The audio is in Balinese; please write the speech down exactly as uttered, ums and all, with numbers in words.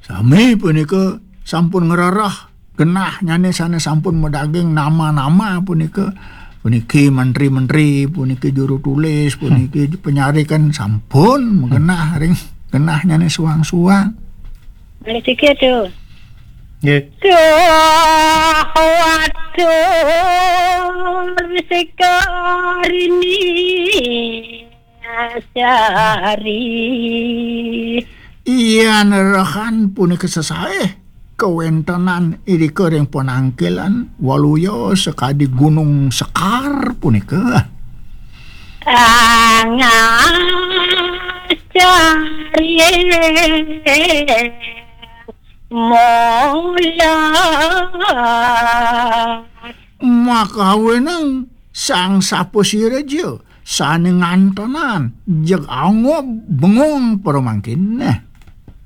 Sami punika sampun ngrereh genahnyané sané sampun madaging nama-nama punika. Puniki menteri-menteri, puniki juru tulis, puniki penyarik kan sampun magenah ring genahnyané suang-suang. Malih siki tu. Nggih. Sahawatur sikarini sari. Iya nerehan punika sesaih kawentenan irika ring panangkilan Waluya sakadi Gunung Sekar punika. Angacari mola. Makawenang sang sapa sira ja sané ngantenan jeg angob bengong para mangkin. Nah.